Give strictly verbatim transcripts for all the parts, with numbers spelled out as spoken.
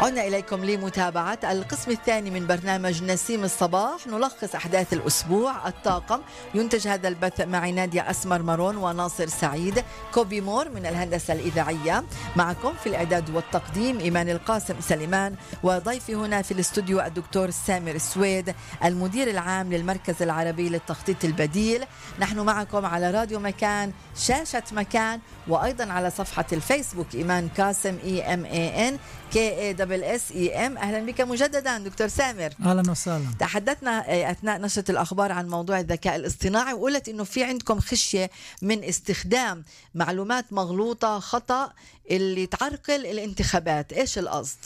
عدنا إليكم لمتابعة القسم الثاني من برنامج نسيم الصباح، نلخص أحداث الأسبوع. الطاقم ينتج هذا البث معي نادية أسمر مارون وناصر سعيد. كوبي مور من الهندسة الإذاعية، معكم في الإعداد والتقديم إيمان القاسم سليمان، وضيفي هنا في الاستوديو الدكتور سامر السويد المدير العام للمركز العربي للتخطيط البديل. نحن معكم على راديو مكان، شاشة مكان، وأيضا على صفحة الفيسبوك إيمان قاسم إي إم إي إن كي إيه دبل إس إي إم. أهلا بك مجددا دكتور سامر. أهلا وسهلا. تحدثنا أثناء نشرة الأخبار عن موضوع الذكاء الاصطناعي، وقلت إنه في عندكم خشية من استخدام معلومات مغلوطة خطأ اللي تعرقل الانتخابات. إيش القصد؟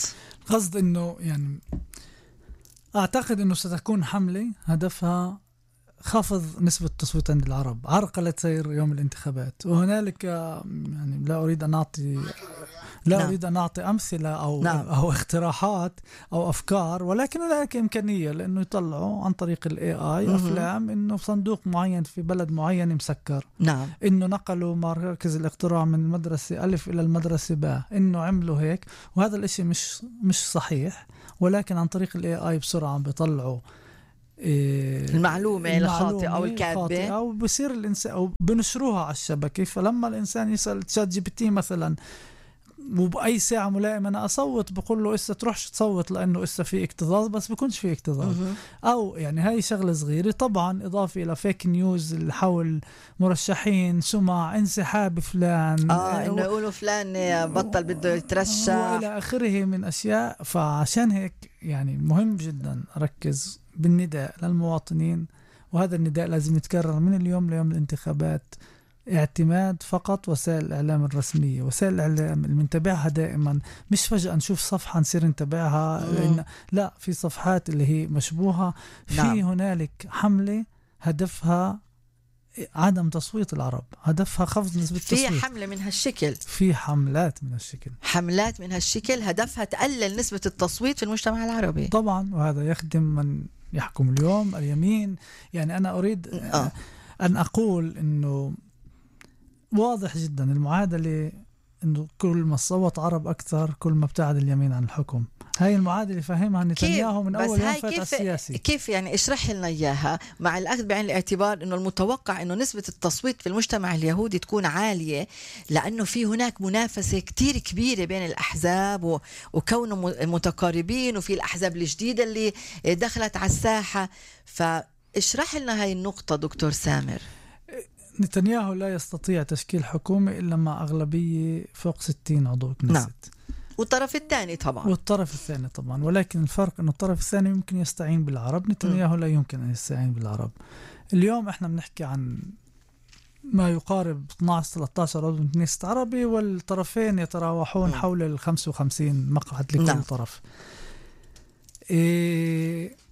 قصد إنه يعني أعتقد إنه ستكون حملة هدفها خفض نسبة التصويت عند العرب، عرقلة سير يوم الانتخابات. وهنالك يعني لا أريد أن أعطي لا نعم. أريد أن أعطي أمثلة أو نعم. أو اقتراحات أو أفكار، ولكن هناك إمكانية لأنه يطلعوا عن طريق ال إيه آي أفلام إنه صندوق معين في بلد معين مسكر، نعم. إنه نقلوا مركز الاقتراع من المدرسة ألف إلى المدرسة باء، إنه عملوا هيك. وهذا الإشي مش مش صحيح، ولكن عن طريق ال إيه آي بسرعة بيطلعوا المعلومة الخاطئة أو الكاذبة، أو بصير الإنسان أو بنشروها على الشبكة. فلما الإنسان يسأل تشات جي بي تي مثلا وبأي ساعة ملائمة أنا أصوت، بقول له إسا تروحش تصوت لأنه إسا في اكتظاظ، بس بيكونش في اكتظاظ. أو يعني هاي شغلة صغيرة. طبعا إضافة إلى فيك نيوز اللي حول مرشحين، سمع، انسحاب فلان، آه إنه يقولوا فلان بطل بده يترشح وإلى آخره من أشياء. فعشان هيك يعني مهم جدا أركز بالنداء للمواطنين، وهذا النداء لازم يتكرر من اليوم ليوم الانتخابات. اعتماد فقط وسائل الإعلام الرسمية، وسائل الإعلام اللي منتبعها دائما، مش فجأة نشوف صفحة نصير نتابعها، لأن لا، في صفحات اللي هي مشبوهة. في نعم. هنالك حملة هدفها عدم تصويت العرب، هدفها خفض نسبة التصويت. في حملة من هالشكل، في حملات من هالشكل حملات من هالشكل هدفها تقلل نسبة التصويت في المجتمع العربي طبعا، وهذا يخدم من يحكم اليوم، اليمين. يعني أنا أريد آه. أن أقول إنه واضح جدا المعادلة، إنه كل ما صوت عرب أكثر كل ما ابتعد اليمين عن الحكم. هاي المعادلة فهمها نتنياهو من أول يوم فات السياسي. كيف يعني؟ اشرح لنا إياها، مع الأخذ بعين الاعتبار إنه المتوقع إنه نسبة التصويت في المجتمع اليهودي تكون عالية، لأنه في هناك منافسة كتير كبيرة بين الأحزاب وكونهم متقاربين، وفي الأحزاب الجديدة اللي دخلت على الساحة. فاشرح لنا هاي النقطة دكتور سامر. نتنياهو لا يستطيع تشكيل حكومة إلا مع أغلبية فوق ستين عضو كنيست. نعم. والطرف الثاني طبعا والطرف الثاني طبعا ولكن الفرق أنه الطرف الثاني يمكن يستعين بالعرب، نتنياهو لا يمكن أن يستعين بالعرب. اليوم احنا بنحكي عن ما يقارب اثني عشر ثلاثة عشر عضو كنيست عربي، والطرفين يتراوحون م. حول ال خمسة وخمسين مقعد لكل نعم. طرف. إيه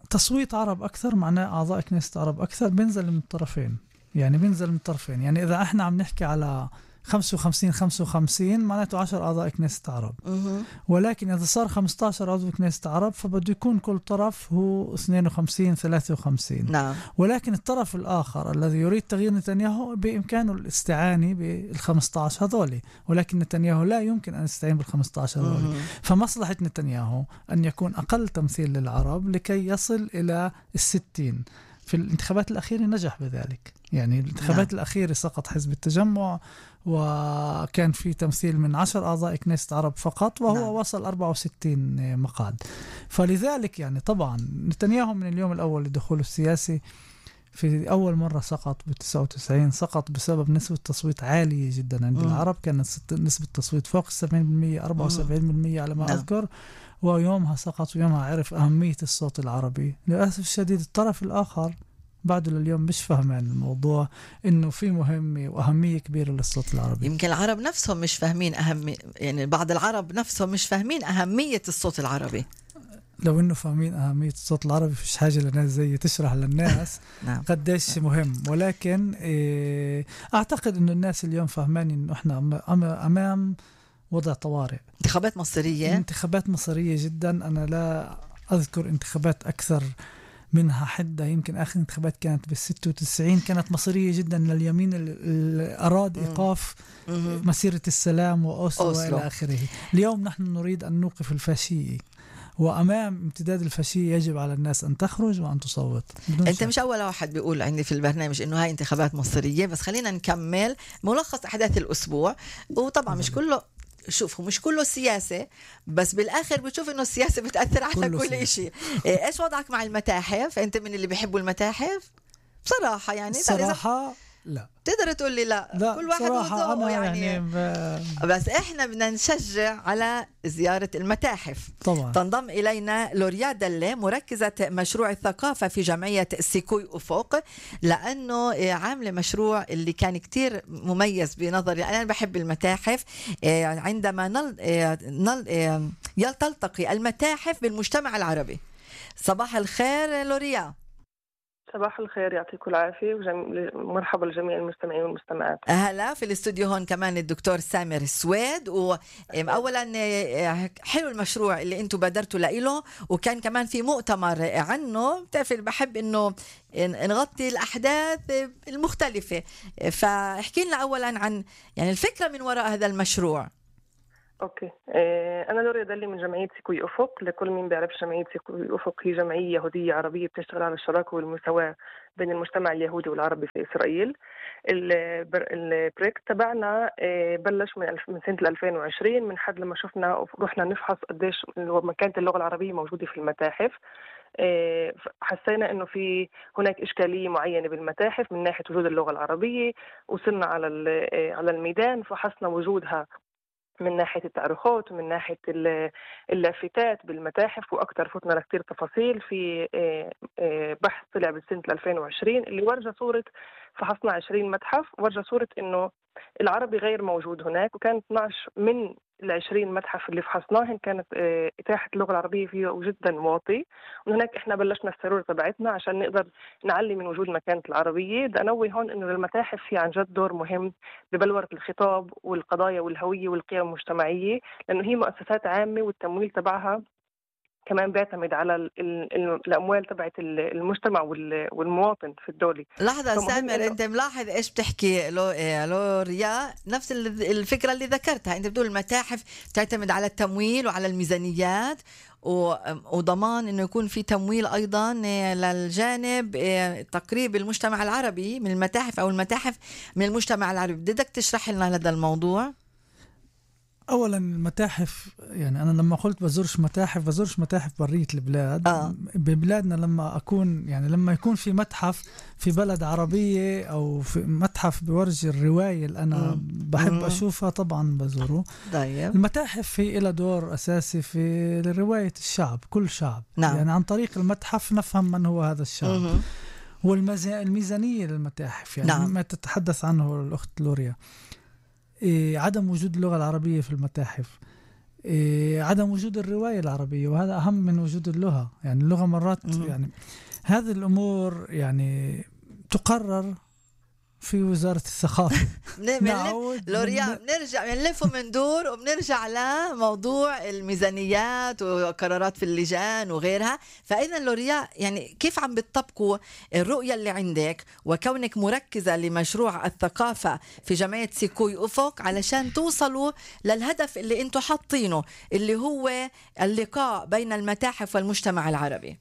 تصويت عرب أكثر معناه أعضاء كنيست عرب أكثر، بينزل من الطرفين. يعني بينزل من الطرفين. يعني إذا إحنا عم نحكي على خمسة وخمسين خمسة وخمسين معناته عشر أعضاء كنيست عرب، أه. ولكن إذا صار خمسة عشر عضو كنيست عرب فبده يكون كل طرف هو اثنين وخمسين ثلاثة وخمسين. نعم. ولكن الطرف الآخر الذي يريد تغيير نتنياهو بإمكانه الاستعانة بالخمسة عشر هذولي، ولكن نتنياهو لا يمكن أن يستعين بالخمسة عشر هذولي. أه. فمصلحة نتنياهو أن يكون أقل تمثيل للعرب لكي يصل إلى الستين. في الانتخابات الأخيرة نجح بذلك. يعني الانتخابات نعم. الأخيرة سقط حزب التجمع، وكان في تمثيل من عشر أعضاء كنيست عرب فقط، وهو نعم. وصل أربعة وستين مقعد. فلذلك يعني طبعا نتنياهو من اليوم الأول لدخوله السياسي في أول مرة سقط بتسعة وتسعين، سقط بسبب نسبة تصويت عالية جدا عند م. العرب. كانت نسبة التصويت فوق سبعين بالمئة، أربعة وسبعين بالمئة على ما نعم. أذكر. ويومها سقط، ويومها عرف أهمية الصوت العربي. للأسف الشديد الطرف الآخر بعده لليوم مش فاهمين الموضوع، إنه في مهمة وأهمية كبيرة للصوت العربي. يمكن العرب نفسهم مش فاهمين أهمية، يعني بعض العرب نفسهم مش فاهمين أهمية الصوت العربي. لو إنه فاهمين أهمية الصوت العربي فيش حاجة لناس زي تشرح للناس نعم. قديش مهم. ولكن إيه أعتقد إنه الناس اليوم فاهمين إنه إحنا أمام وضع طوارئ. انتخابات مصيرية، انتخابات مصيرية جدا. أنا لا أذكر انتخابات أكثر منها حدة يمكن آخر انتخابات كانت بالستة وتسعين كانت مصيرية جدا لليمين اللي أراد إيقاف مسيرة السلام وأوسلو وإلى آخره. اليوم نحن نريد أن نوقف الفاشية، وأمام امتداد الفاشية يجب على الناس أن تخرج وأن تصوت. أنت شك. مش أول واحد بيقول عندي في البرنامج إنه هاي انتخابات مصيرية، بس خلينا نكمل ملخص أحداث الأسبوع. وطبعا مش كله، شوفوا مش كله سياسة، بس بالآخر بتشوف إنه السياسة بتأثر على كل سياسة. إشي. إيش وضعك مع المتاحف؟ أنت من اللي بيحبوا المتاحف بصراحة؟ يعني صراحة لا، تقدر تقول لي لا, لا كل واحد وذوقه يعني, يعني ب... بس احنا بدنا نشجع على زيارة المتاحف طبعا. تنضم إلينا لوريا دلة مركزة مشروع الثقافة في جمعية سيكوي أفق، لأنه عاملة مشروع اللي كان كتير مميز بنظري. أنا بحب المتاحف. عندما نل... نل... يلتقي المتاحف بالمجتمع العربي. صباح الخير لوريا. صباح الخير، يعطيكم العافية ومرحبا لجميع المستمعين والمستمعات. أهلا. في الاستوديو هون كمان الدكتور سامر السويد. وأولا حلو المشروع اللي انتم بادرتوا له، وكان كمان في مؤتمر عنه. بتعرف بحب انه نغطي الأحداث المختلفة، فاحكي لنا أولا عن يعني الفكرة من وراء هذا المشروع. اوكي، انا لوريا دلي من جمعيه سيكوي افق. لكل مين بيعرف جمعيه سيكوي افق هي جمعيه يهوديه عربيه بتشتغل على الشراكه والمساواه بين المجتمع اليهودي والعربي في اسرائيل. البروجكت تبعنا بلش من سنه ألفين وعشرين، من حد لما شفنا رحنا نفحص قديش مكانه اللغه العربيه موجوده في المتاحف. حسينا انه في هناك اشكاليه معينه بالمتاحف من ناحيه وجود اللغه العربيه. وصلنا على على الميدان، فحصنا وجودها من ناحية التأريخات ومن ناحية اللافتات بالمتاحف، وأكثر فتنا لكتير تفاصيل في بحث طلع بسنة ألفين وعشرين اللي ورجى صورة. فحصنا عشرين متحف ورجى صورة إنه العربي غير موجود هناك، وكان اثناشر من العشرين متحف اللي فحصناهن كانت إتاحة اللغة العربية فيه جدا واطي. وهناك إحنا بلشنا السرور تبعتنا عشان نقدر نعلي من وجود مكانة العربية. بدي أنوه هون إنه المتاحف في عن جد دور مهم ببلورة الخطاب والقضايا والهوية والقيم المجتمعية، لأنه هي مؤسسات عامة والتمويل تبعها كمان بيعتمد على الأموال تبعت المجتمع والمواطن في الدولة. لحظة سامر، أنت ملاحظ إيش بتحكي لو لوريا؟ نفس الفكرة اللي ذكرتها. أنت بتقول المتاحف تعتمد على التمويل وعلى الميزانيات وضمان إنه يكون في تمويل أيضا للجانب تقريب المجتمع العربي من المتاحف، أو المتاحف من المجتمع العربي. بدك تشرح لنا هذا الموضوع؟ أولا المتاحف، يعني أنا لما قلت بزورش متاحف بزورش متاحف برية البلاد. آه. ببلادنا لما أكون يعني لما يكون في متحف في بلد عربية أو في متحف بورجي الرواية اللي أنا مم. بحب مم. أشوفها طبعا بزوره. دايم. المتاحف في إلى دور أساسي في رواية الشعب، كل شعب. نعم. يعني عن طريق المتحف نفهم من هو هذا الشعب. مم. والميزانية للمتاحف يعني نعم. ما تتحدث عنه الأخت لوريا، إيه عدم وجود اللغة العربية في المتاحف، إيه عدم وجود الرواية العربية، وهذا أهم من وجود اللغة. يعني اللغة مرات م- يعني هذه الأمور يعني تقرر في وزارة الثقافة. لوريا بنرجع بنلف ومندور وبنرجع لموضوع الميزانيات وقرارات في اللجان وغيرها. فإذا لوريا يعني كيف عم بتطبقوا الرؤية اللي عندك وكونك مركزة لمشروع الثقافة في جمعية سيكوي أفق علشان توصلوا للهدف اللي انتوا حاطينه، اللي هو اللقاء بين المتاحف والمجتمع العربي؟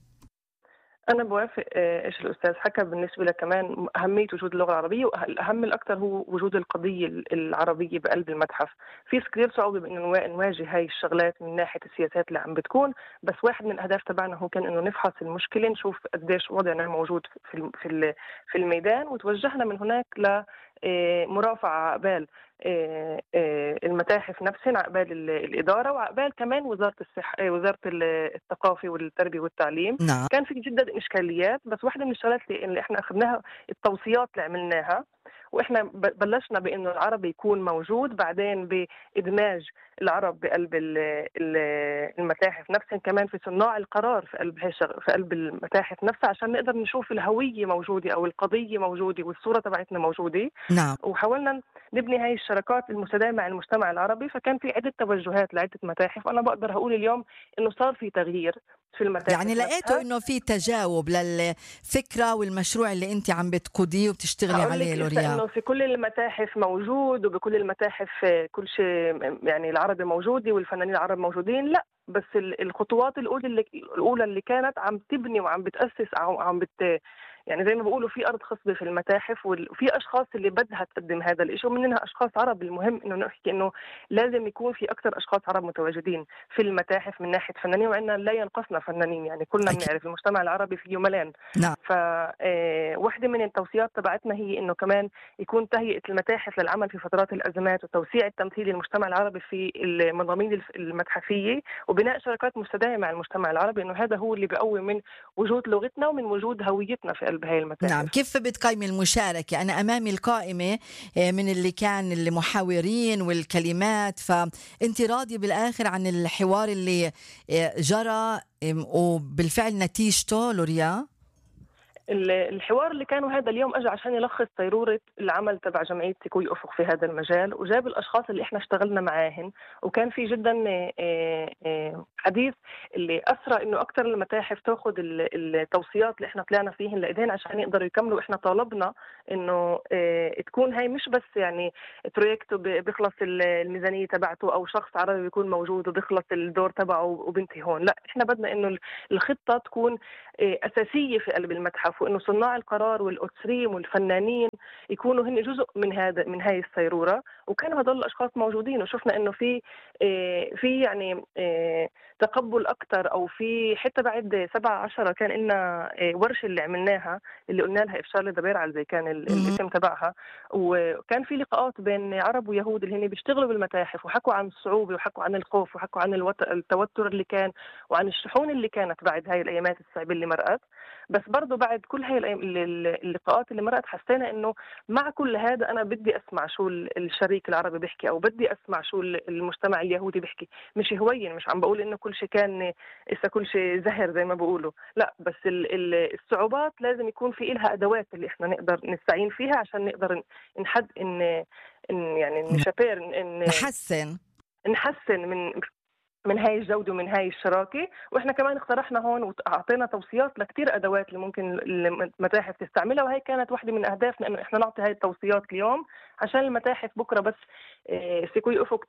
أنا بوافق إيش الأستاذ حكى. بالنسبة لك كمان أهمية وجود اللغة العربية، والأهم الأكثر هو وجود القضية العربية بقلب المتحف. في كثير صعوبة بأن نواجه هاي الشغلات من ناحية السياسات اللي عم بتكون، بس واحد من الأهداف تبعنا هو كان إنه نفحص المشكلة، نشوف قديش وضعنا موجود في في في الميدان، وتوجهنا من هناك ل مرافعة عقبال المتاحف نفسها، عقبال الإدارة، وعقبال كمان وزارة الصحة وزارة الثقافة والتربية والتعليم. نعم. كان في جدا إشكاليات، بس واحدة من الشغلات اللي احنا أخذناها التوصيات اللي عملناها، واحنا بلشنا بانه العربي يكون موجود، بعدين بادماج العرب بقلب المتاحف نفسها، كمان في صناع القرار في قلب في قلب المتاحف نفسها، عشان نقدر نشوف الهويه موجوده او القضيه موجوده والصوره تبعتنا موجوده. نعم. وحاولنا نبني هاي الشراكات المستدامه مع المجتمع العربي. فكان في عده توجهات لعده متاحف. انا بقدر اقول اليوم انه صار في تغيير في المتاحف. يعني لقيتوا انه في تجاوب للفكره والمشروع اللي انت عم بتقوديه وبتشتغلي عليه لوريا؟ انه في كل المتاحف موجود، وبكل المتاحف كل شيء يعني العربي موجود والفنانين العرب موجودين، لا بس الخطوات الاولى اللي الاولى اللي كانت عم تبني وعم بتاسس او عم بت يعني زي ما بيقولوا في ارض خصبه في المتاحف، وفي اشخاص اللي بدها تقدم هذا الشيء، ومنها اشخاص عرب. المهم انه نحكي انه لازم يكون في اكثر اشخاص عرب متواجدين في المتاحف من ناحيه فنانين، وعندنا لا ينقصنا فنانين، يعني كلنا بنعرف المجتمع العربي فيه ملان. نعم. فواحده من التوصيات تبعتنا هي انه كمان يكون تهيئه المتاحف للعمل في فترات الازمات، وتوسيع التمثيل للمجتمع العربي في المضامين المتحفيه، وبناء شراكات مستدامه مع المجتمع العربي، انه هذا هو اللي بيقوي من وجود لغتنا ومن وجود هويتنا في قلب هاي المتاحف. نعم. كيف بتقيمي المشاركة؟ أنا أمامي القائمة من اللي كان المحاورين والكلمات، فأنت راضية بالآخر عن الحوار اللي جرى وبالفعل نتيجته لوريا؟ الحوار اللي كانوا هذا اليوم اجى عشان يلخص صيرورة العمل تبع جمعية سيكوي أفق في هذا المجال، وجاب الاشخاص اللي احنا اشتغلنا معاهن، وكان في جدا حديث اللي اسرى انه اكثر المتاحف تاخذ التوصيات اللي احنا طلعنا فيهن لايدينا عشان يقدروا يكملوا. احنا طالبنا انه تكون هاي مش بس يعني بروجكت بيخلص الميزانية تبعته او شخص عربي بيكون موجود وبيخلص الدور تبعه وبنتهي هون، لا احنا بدنا انه الخطة تكون اساسية في قلب المتحف، وانه صناع القرار والأسريم والفنانين يكونوا هن جزء من هذا من هاي الصيرورة، وكانوا هدول الاشخاص موجودين، وشفنا انه في في يعني تقبل اكثر، او في حتى بعد سبعة عشرة كان لنا ورشه اللي عملناها اللي قلنا لها افشار لدبير زي كان الاسم تبعها، وكان في لقاءات بين عرب ويهود اللي هن بيشتغلوا بالمتاحف، وحكوا عن الصعوبه وحكوا عن الخوف وحكوا عن التوتر اللي كان وعن الشحون اللي كانت بعد هاي الايامات الصعبه اللي مرقت. بس برضه بعد كل هاي اللقاءات اللي مرقت حسينا انه مع كل هذا انا بدي اسمع شو الشريك العربي بيحكي، او بدي اسمع شو المجتمع اليهودي بيحكي. مش هوين، مش عم بقول انه كل شيء كان إسا كل شيء زهر زي ما بقولوا، لا بس الصعوبات لازم يكون في إلها ادوات اللي احنا نقدر نستعين فيها عشان نقدر نحد ان, إن يعني نشابير إن نحسن نحسن من من هاي الجودة ومن هاي الشراكة. وإحنا كمان اقترحنا هون وأعطينا توصيات لكتير أدوات اللي ممكن المتاحف تستعملها، وهي كانت واحدة من أهدافنا إنه إحنا نعطي هاي التوصيات اليوم عشان المتاحف بكرة بس سيكوي أفق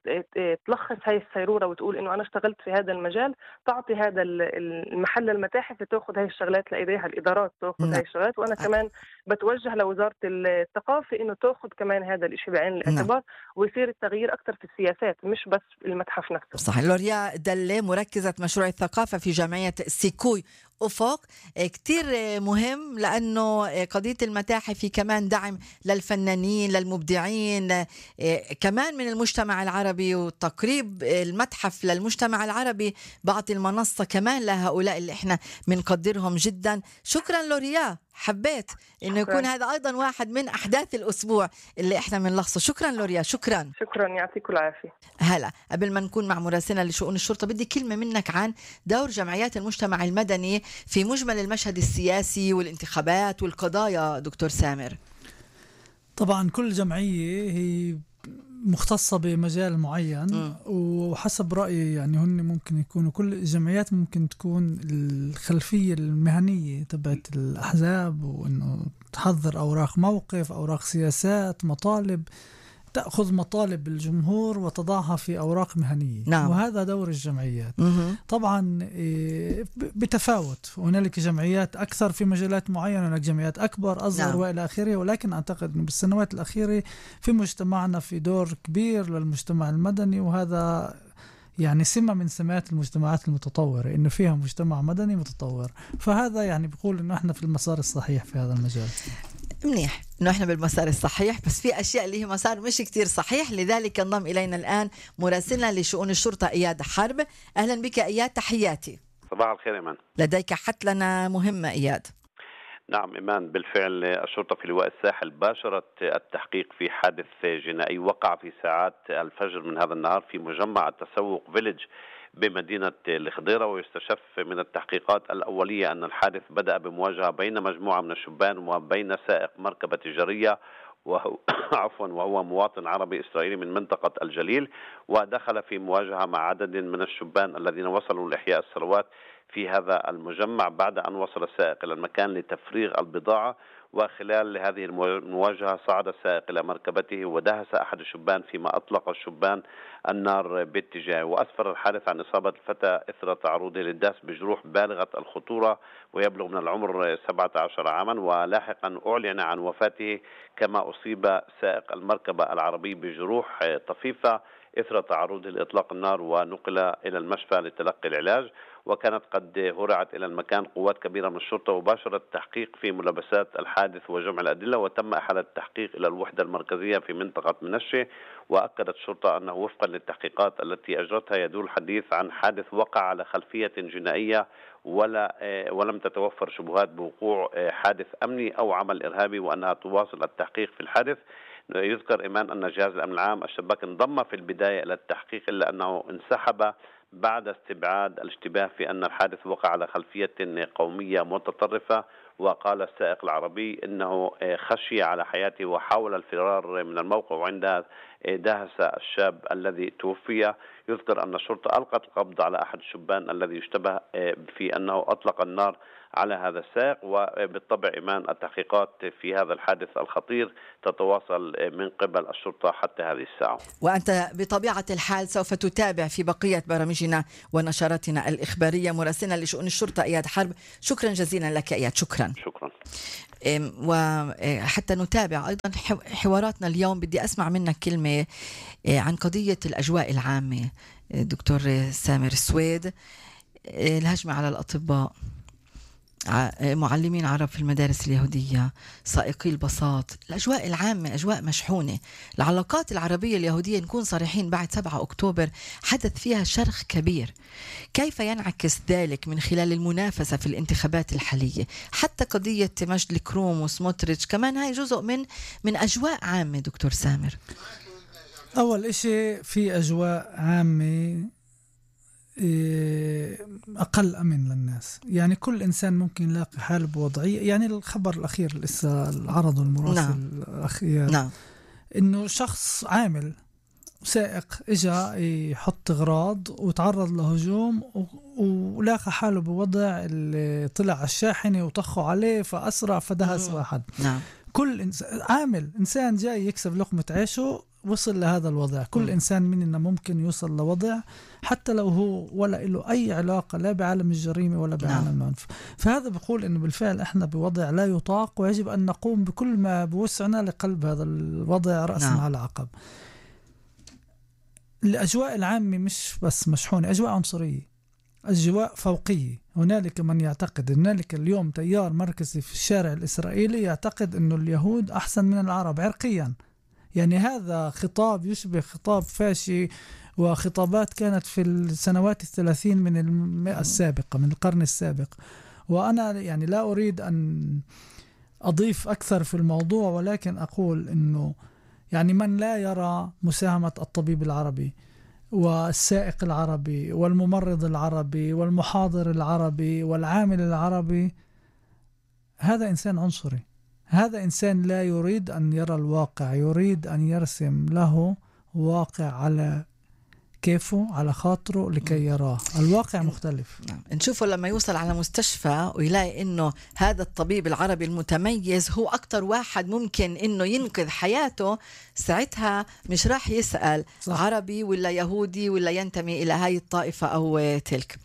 تلخص هاي الصيرورة وتقول إنه أنا اشتغلت في هذا المجال، تعطي هذا المحل المتاحف تأخذ هاي الشغلات لإيديها، الإدارات تأخذ هاي الشغلات، وأنا كمان بتوجه لوزارة الثقافة إنه تأخذ كمان هذا الإشي بعين الاعتبار، ويصير التغيير أكثر في السياسات مش بس المتحف نفسه. صح. لوريا دلة مركزة مشروع الثقافة في جمعية سيكوي أفق، كتير مهم لأنه قضية المتاحف كمان دعم للفنانين للمبدعين كمان من المجتمع العربي، وتقريب المتحف للمجتمع العربي بعطي المنصة كمان لهؤلاء اللي احنا بنقدرهم جدا. شكرا لوريا، حبيت انه يكون هذا ايضا واحد من احداث الاسبوع اللي احنا بنلخصه. شكرا لوريا. شكرا شكرا يعطيكم العافيه. هلا قبل ما نكون مع مراسلنا لشؤون الشرطه بدي كلمه منك عن دور جمعيات المجتمع المدني في مجمل المشهد السياسي والانتخابات والقضايا دكتور سامر. طبعا كل جمعيه هي مختصة بمجال معين م. وحسب رأيي يعني هن ممكن يكونوا كل الجمعيات ممكن تكون الخلفية المهنية تبعت الأحزاب، وإنه تحضر أوراق موقف، أوراق سياسات، مطالب، تأخذ مطالب الجمهور وتضعها في أوراق مهنية. نعم. وهذا دور الجمعيات. م- طبعا بتفاوت، هنالك جمعيات أكثر في مجالات معينة، هناك جمعيات أكبر أصغر. نعم. وإلى آخره. ولكن أعتقد أنه بالسنوات الأخيرة في مجتمعنا في دور كبير للمجتمع المدني، وهذا يعني سمة من سمات المجتمعات المتطورة إنه فيها مجتمع مدني متطور، فهذا يعني بيقول إنه إحنا في المسار الصحيح في هذا المجال. منيح إنه إحنا بالمسار الصحيح، بس في أشياء اللي هي مسار مش كتير صحيح. لذلك انضم إلينا الآن مراسلنا لشؤون الشرطة إياد حرب. أهلا بك إياد، تحياتي. صباح الخير إيمان. لديك حت لنا مهمة إياد. نعم إيمان، بالفعل الشرطة في لواء الساحل باشرت التحقيق في حادث جنائي وقع في ساعات الفجر من هذا النهار في مجمع التسوق فيليج بمدينة الخضيرة، ويستشف من التحقيقات الأولية أن الحادث بدأ بمواجهة بين مجموعة من الشبان وبين سائق مركبة تجارية وهو عفوا وهو مواطن عربي إسرائيلي من منطقة الجليل، ودخل في مواجهة مع عدد من الشبان الذين وصلوا لإحياء الثروات في هذا المجمع بعد أن وصل السائق إلى المكان لتفريغ البضاعة. وخلال هذه المواجهة صعد السائق إلى مركبته ودهس أحد الشبان، فيما أطلق الشبان النار باتجاهه، وأسفر الحادث عن إصابة الفتى إثر تعرضه للداس بجروح بالغة الخطورة ويبلغ من العمر سبعة عشر عاما. ولاحقا أعلن عن وفاته، كما أصيب سائق المركبة العربي بجروح طفيفة إثر تعرضه لإطلاق النار ونقل إلى المشفى لتلقي العلاج. وكانت قد هرعت إلى المكان قوات كبيرة من الشرطة وباشرت التحقيق في ملابسات الحادث وجمع الأدلة، وتم إحالة التحقيق إلى الوحدة المركزية في منطقة منشة. وأكدت الشرطة أنه وفقا للتحقيقات التي أجرتها يدور الحديث عن حادث وقع على خلفية جنائية، ولا ولم تتوفر شبهات بوقوع حادث أمني أو عمل إرهابي، وأنها تواصل التحقيق في الحادث. يذكر إيمان أن جهاز الأمن العام الشباك انضم في البداية إلى التحقيق، إلا أنه انسحب بعد استبعاد الاشتباه في أن الحادث وقع على خلفية قومية متطرفة. وقال السائق العربي إنه خشي على حياته وحاول الفرار من الموقع، وعندها دهس الشاب الذي توفي. يذكر أن الشرطة ألقت القبض على أحد الشبان الذي يشتبه في أنه أطلق النار على هذا السائق. وبالطبع إيمان التحقيقات في هذا الحادث الخطير تتواصل من قبل الشرطة حتى هذه الساعة. وأنت بطبيعة الحال سوف تتابع في بقية برامجنا ونشراتنا الإخبارية. مراسلنا لشؤون الشرطة إياد حرب، شكرا جزيلا لك إياد. شكرا شكرا. وحتى نتابع أيضا حواراتنا اليوم، بدي أسمع منك كلمة عن قضية الأجواء العامة. دكتور سامر السويد، الهجمة على الأطباء، معلمين عرب في المدارس اليهودية، سائقي الباصات، الأجواء العامة أجواء مشحونة. العلاقات العربية اليهودية، نكون صريحين، بعد سبعة أكتوبر حدث فيها شرخ كبير. كيف ينعكس ذلك من خلال المنافسة في الانتخابات الحالية؟ حتى قضية مجد الكروم وسموتريتش كمان هاي جزء من من أجواء عامة. دكتور سامر، أول إشي في أجواء عامة أقل أمن للناس، يعني كل إنسان ممكن يلاقي حاله بوضعية. يعني الخبر الأخير لسه العرض المراسل نعم. الأخير نعم. إنه شخص عامل سائق إجا يحط أغراض وتعرض لهجوم ولاقى حاله بوضع اللي طلع على الشاحنة وطخوا عليه فأسرع فدهس واحد نعم. كل إنسان عامل، إنسان جاي يكسب لقمة عيشه، وصل لهذا الوضع. كل م. إنسان مننا ممكن يوصل لوضع حتى لو هو ولا له أي علاقة لا بعالم الجريمة ولا بعالم نعم. العنف. فهذا بقول إنه بالفعل إحنا بوضع لا يطاق، ويجب أن نقوم بكل ما بوسعنا لقلب هذا الوضع رأسا نعم. على عقب. الأجواء العامة مش بس مشحونة، أجواء عنصرية، أجواء فوقية. هنالك من يعتقد، هنالك اليوم تيار مركزي في الشارع الإسرائيلي يعتقد إنه اليهود أحسن من العرب عرقيا. يعني هذا خطاب يشبه خطاب فاشي، وخطابات كانت في السنوات الثلاثين من المئة السابقة، من القرن السابق. وأنا يعني لا أريد أن أضيف أكثر في الموضوع، ولكن أقول إنه يعني من لا يرى مساهمة الطبيب العربي والسائق العربي والممرض العربي والمحاضر العربي والعامل العربي، هذا إنسان عنصري. هذا إنسان لا يريد أن يرى الواقع، يريد أن يرسم له واقع على كيفه، على خاطره، لكي يراه. الواقع مختلف. نشوفه لما يوصل على مستشفى ويلاقي إنه هذا الطبيب العربي المتميز هو أكتر واحد ممكن إنه ينقذ حياته، ساعتها مش راح يسأل صح. عربي ولا يهودي ولا ينتمي إلى هاي الطائفة أو تلك.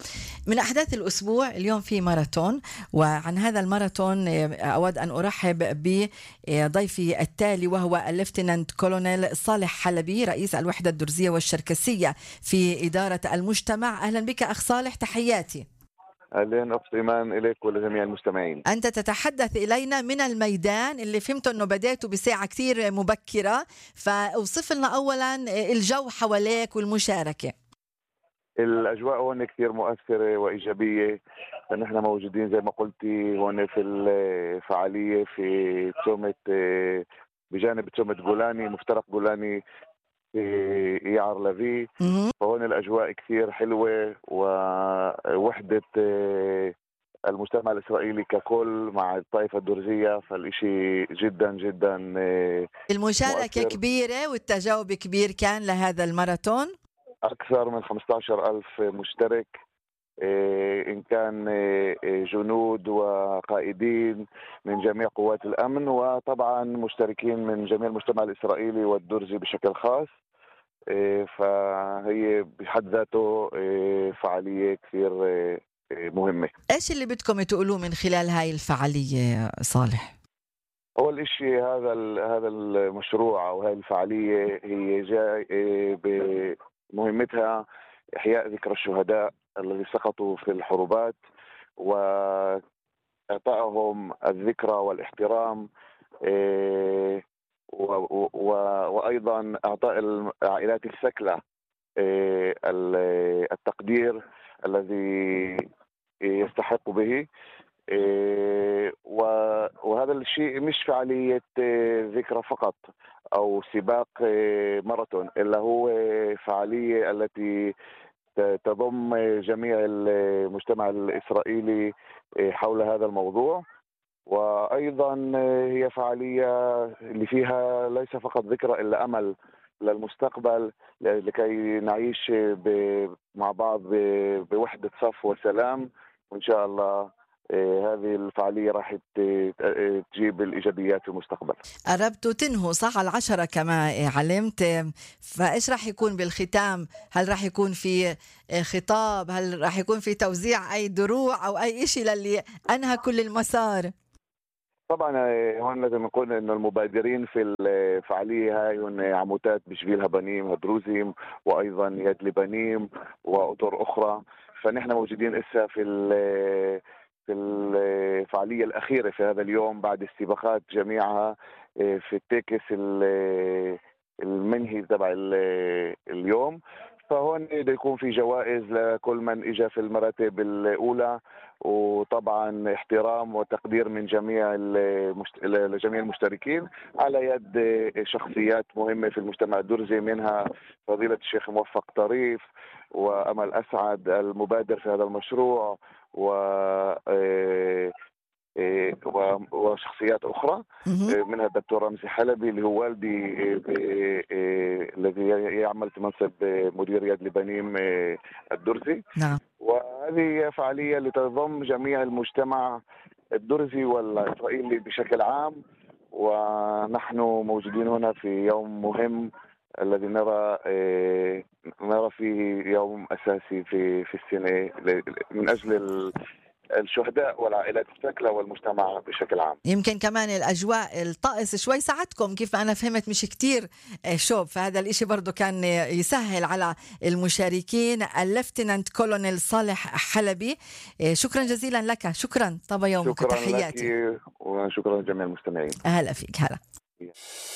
من أحداث الأسبوع اليوم في ماراثون، وعن هذا الماراثون أود أن أرحب بضيفي التالي، وهو الليفتنانت كولونيل صالح حلبي، رئيس الوحدة الدرزية والشركسية في إدارة المجتمع. أهلا بك أخ صالح، تحياتي. أهلا أخت إيمان، إليك ولجميع المستمعين. أنت تتحدث إلينا من الميدان اللي فهمت أنه بدأته بساعة كتير مبكرة، فأوصف لنا أولا الجو حواليك والمشاركة. الأجواء هون كتير مؤثرة وإيجابية، نحن موجودين زي ما قلتي هون في الفعالية في تسومة، بجانب تسومة جولاني، مفترق جولاني في يعر لافي. فهون الأجواء كثير حلوة، ووحدة المجتمع الإسرائيلي ككل مع الطائفة الدرزية، فالإشي جدا جدا المشاركة مؤثر. كبيرة والتجاوب كبير كان لهذا الماراثون، أكثر من خمسة عشر ألف مشترك إن كان جنود وقائدين من جميع قوات الأمن، وطبعا مشتركين من جميع المجتمع الإسرائيلي والدرزي بشكل خاص. فهي بحد ذاته فعالية كثير مهمة. إيش اللي بدكم تقولوه من خلال هاي الفعالية صالح؟ أول إشي هذا هذا المشروع أو هذه الفعالية هي جاي بمهمتها إحياء ذكرى الشهداء الذين سقطوا في الحروبات وإعطائهم الذكرى والاحترام، وأيضا إعطاء العائلات الثكلى التقدير الذي يستحق به. وهذا الشيء مش فعالية ذكرى فقط أو سباق ماراثون، إلا هو فعالية التي تضم جميع المجتمع الإسرائيلي حول هذا الموضوع. وأيضا هي فعالية اللي فيها ليس فقط ذكرى إلا أمل للمستقبل، لكي نعيش مع بعض بوحدة صف وسلام. وإن شاء الله هذه الفعالية راح تجيب الإيجابيات في المستقبل. قربتوا تنهوا صح على العشرة كما علمت، فإيش راح يكون بالختام؟ هل راح يكون في خطاب؟ هل راح يكون في توزيع أي دروع أو أي إشي للي أنهى كل المسار؟ طبعا هون لازم نقول انه المبادرين في الفعاليه هاي هن عموتات بشبيل بنيم هدروزيم، وايضا يد لبنيم واطر اخرى. فنحن موجودين اسا في في الفعاليه الاخيره في هذا اليوم بعد السباقات جميعها في التكس المنهي تبع اليوم. فهون بده يكون في جوائز لكل من اجى في المراتب الاولى، وطبعا احترام وتقدير من جميع المشت... لجميع المشتركين على يد شخصيات مهمة في المجتمع الدرزي، منها فضيلة الشيخ موفق طريف وأمل أسعد المبادر في هذا المشروع و وشخصيات أخرى منها الدكتور رمزي حلبي اللي هو والدي الذي يعمل في منصب مدير يد لبنيم الدرزي. نعم. وهذه فعالية لتضم جميع المجتمع الدرزي والإسرائيلي بشكل عام، ونحن موجودين هنا في يوم مهم الذي نرى نرى فيه يوم أساسي في في السنة من أجل الشهداء والعائلات الثكلى والمجتمع بشكل عام. يمكن كمان الأجواء الطقس شوي ساعدكم، كيف ما أنا فهمت مش كتير شوب، فهذا الإشي برضو كان يسهل على المشاركين. الليفتنانت كولونيل صالح حلبي، شكرا جزيلا لك. شكرا طب يومك، شكرا تحياتي لك وشكرا لجميع المستمعين. أهلا فيك. هلا.